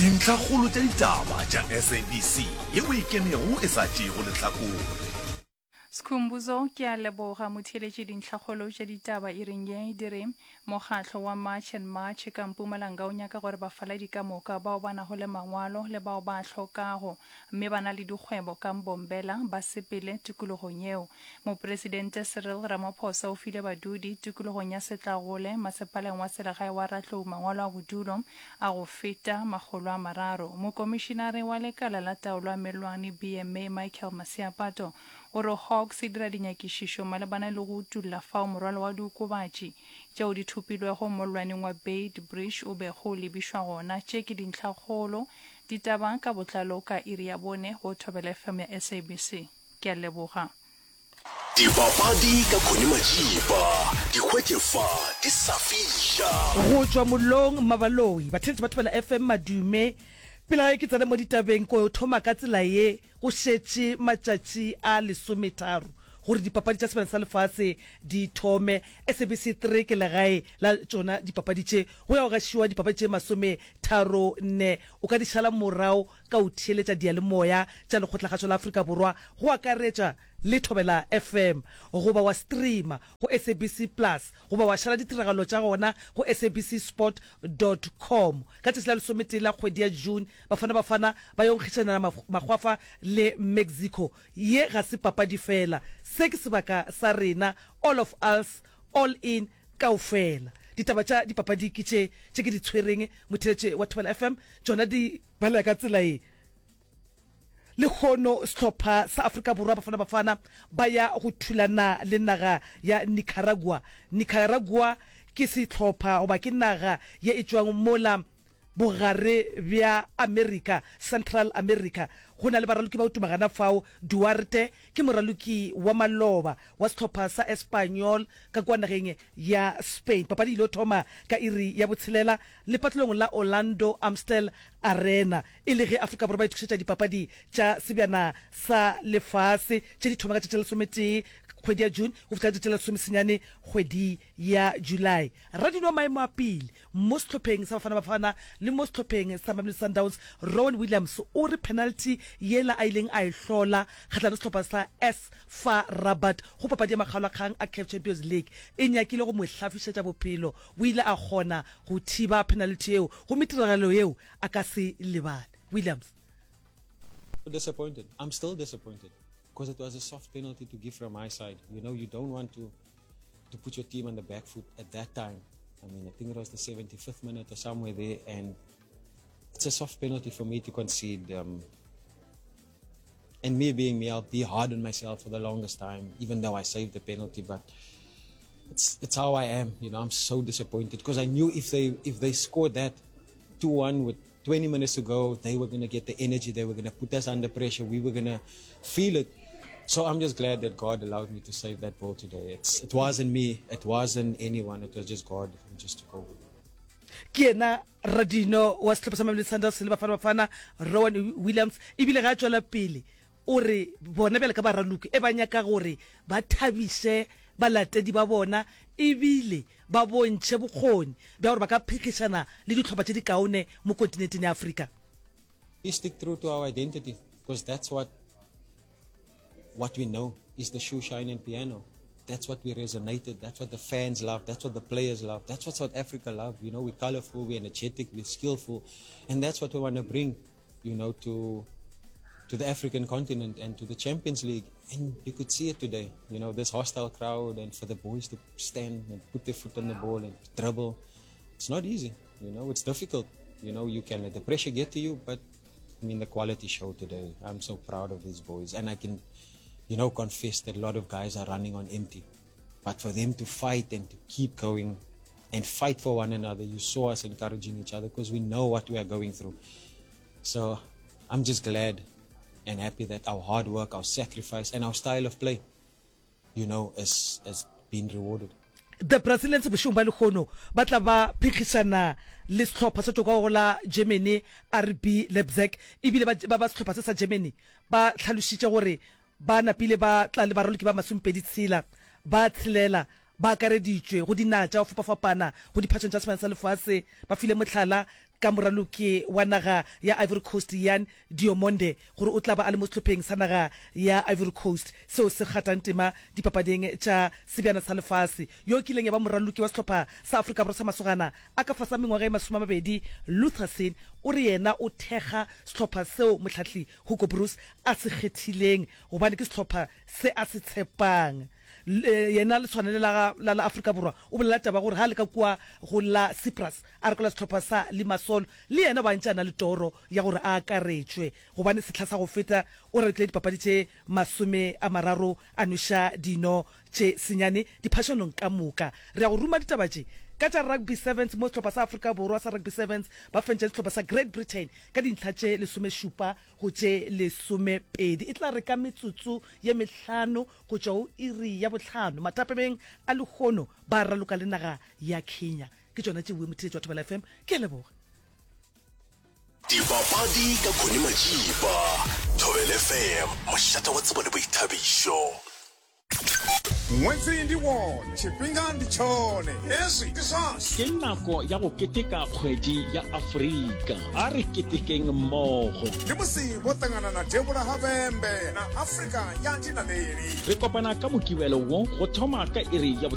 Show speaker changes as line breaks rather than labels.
Dintlhakgolo tša ditaba tša SABC yeo e kenego e sa tšeego lehlakore.
Skhumbuzo, Ke a leboga motheeletši dintlhakgolo tša ditaba iring ye di re mokgatlo wa March and March ka Mpumalanga o nyaka gore bafaladi ka moka bao ba nago le mangwalo le bao ba a hlokago mme ba na le dikgwebo ka Mbombela ba sepele tikologong yeo. Mopresidente Cyril Ramaphosa o file badudi tikologong ya Setlagole masepaleng wa selegae wa Ratlou mangwalo a bodulo a go feta 300. Mokomišinare wa lekala la taolo ya mellwane BMA Michael Masiapato o re Hawks e dira dinyakišišo malebana le go utulla fao morwalo wa diokobatši tšeo di thopilwego mollwaneng wa Beit Bridge o bego o lebišwa gona. Tše ke dintlhakgolo Ditaba ka botlalo ka iri ya bone go Thobela FM ya SABC. Ke a leboga.
Dipapadi ka Connie Majiba, di hwetše fa di sa fiša.
Go tšwa mollong Mmabaloi, batheeletši ba Thobela FM madume. Pele ga ke tsena mo ditabeng, ko thoma ka tsela ye, go šetše matšatši a lesometharo gore dipapadi tša Sebjana sa Lefase di thome. SABC 3 ke legae la tšona dipapadi tše. Go ya go gašiwa dipapadi tše masometharonne. O ka di šala morago ka go theeletša diyalemoya tša Lekgotlakgašo la Afrika Borwa, go akaretša le Thobela FM, goba wa streama go SABC Plus goba wa šala ditiragalo tša gona go SABC Sport dot com. Ka tšatši la lesometee la kgwedi ya June, Bafana Bafana ba yo nkgišanela makgwafa le Mexico. Ye ga se papadi fela, se ke sebaka sa rena, all of us, all in, kaofela. Ditaba tša dipapadi ke tše, tše ke di tshwereng, motheeletše wa Thobela FM, tšona di balega ka tsela ye. Lehono sehlopha sa Afrika Borwa, Bafana Bafana, ba ya go thulana le naga ya Nicaragua. Nicaragua ke sehlopha goba ke naga ye e tšwang mola Bogare bja Amerika, Central America. Go na le baraloki ba go tuma gana fao. Duarte ke moraloki wa maloba wa sehlopha sa Espanyol ka kua nageng ya Spain. Papadi e ilo thoma ka iri ya botshelela lepatlelong la Orlando Amstel Arena e le ge Afrika Borwa ba itokišetša dipapadi tša Sebjana sa Lefase tše di thoma ka tšatši la lesometee kgwedi ya June go fihla ka tšatši la lesomesenyane kgwedi ya July. Radino wa maemo a pele Mo sehlopheng sa Bafana Bafana le mo sehlopheng sa Mamelodi Sundowns, Rowan Williams o re penalty yela a ileng a e hlola kgahlanong le sehlopha sa AS FAR Rabat go papadi ya makgaolakgang a CAF Champions League e nyakile go mo hlafišetša bophelo. O ile a kgona go thiba penalty yeo gomme tiragalo yeo a ka se e lebale. Williams.
Disappointed. I'm still disappointed because it was a soft penalty to give from my side. You know, you don't want to to put your team on the back foot at that time. I mean, I think it was the 75th minute or somewhere there, and it's a soft penalty for me to concede. Um, and me being me, I'll be hard on myself for the longest time, even though I saved the penalty. But it's it's how I am, you know. I'm so disappointed because I knew if they if they scored that 2-1 with 20 minutes to go, they were going to get the energy. They were going to put us under pressure. We were going to feel it. So I'm just glad that God allowed me to save that ball today. It's, it wasn't me. It wasn't anyone. It was just God who just took over.
Ke yena radino wa sehlopha sa Mamelodi Sundowns le Bafana Bafana, Rowan Williams, ebile ge a tšwela pele o re bona bjale ka baraloki e ba nyaka gore ba thabiše balatedi ba bona ebile ba bontšhe bokgoni bja gore ba ka phenkgišana le dihlopha tše dikaone mo kontinenteng ya Afrika.
We stick true to our identity because that's what what we know is the shoe shine and piano. That's what we resonated. That's what the fans love. That's what the players love. That's what South Africa love. You know, we're colorful, we're energetic, we're skillful, and that's what we want to bring, you know, to to the African continent and to the Champions League. And you could see it today, you know, this hostile crowd and for the boys to stand and put their foot on the ball and dribble. It's not easy, you know, it's difficult. You know, you can let the pressure get to you, but I mean, the quality show today. I'm so proud of these boys. And I can, you know, confess that a lot of guys are running on empty. But for them to fight and to keep going and fight for one another, you saw us encouraging each other because we know what we are going through. So I'm just glad and happy that our hard work, our sacrifice, and our style of play, you know, has, has been rewarded.
The Brazilians bošegong bja lehono ba tla ba phenkgišana le sehlopha se tšwago go la Germany RB Leipzig ebile ba ba sehlopha se sa Germany ba hlalošitše gore ba napile ba tla le baraloki ba masomepedi tshela ba tshelela ba akareditšwe go dinaga tša go fapafapana go diphatšong tša Sebjana sa Lefase ba file mohlala. ka moraloki wa naga ya Ivory Coast Yan Diomande gore o tla ba a le mo sehlopheng sa naga ya Ivory Coast seo se kgatang tema dipapading tša Sebjana sa Lefase. Yo e kileng ya ba moraloki wa sehlopha sa Afrika Borwa sa masogana a ka fase ga mengwaga e masomeamabedi, Luther Singh o re yena o thekga sehlopha seo mohlahli Hugo Broos a se kgethileng gobane ke sehlopha se a se tshepang. Yena leswana le la la la Afrika Borwa o bolela taba gore ga a le ka kua go la Cyprus a rekola sehlopha sa Limassol le yena o ba ntše a na le toro ya gore a akaretšwe gobane sehla sa go feta o ralokile dipapadi tše 30 a nweša dino tše senyane diphašanong ka moka. Re ya go ruma ditaba tše ka tša Rugby Sevens mo sehlopha sa Afrika Borwa sa Rugby Sevens ba fentše sehlopha sa Great Britain ka dintlha tše lesomešupa go tše lesomepedi. E tla re ka metsotso ye mehlano go tšwa go iri ya bohlano mathapameng a lehono ba raloka le naga ya Kenya. Ke tšona tše motheetši wa Thobela FM. Ke a leboga.
Dipapadi ka Connie Majiba, Thobela FM, mošate wa tsebo le boithabišo.
Ṅwedzi ndi wone, tshifhinga ndi tshone, hezwi ndi zwashu.
Ke nako ya go keteka Kgwedi ya Afrika. A re ketekeng mmogo.
Ndi musi vho ṱangana na Devhula ha Vhembe na Afrika ya Dinaleli.
Re kopana ka Mokibelo wo go thoma ka iri ya.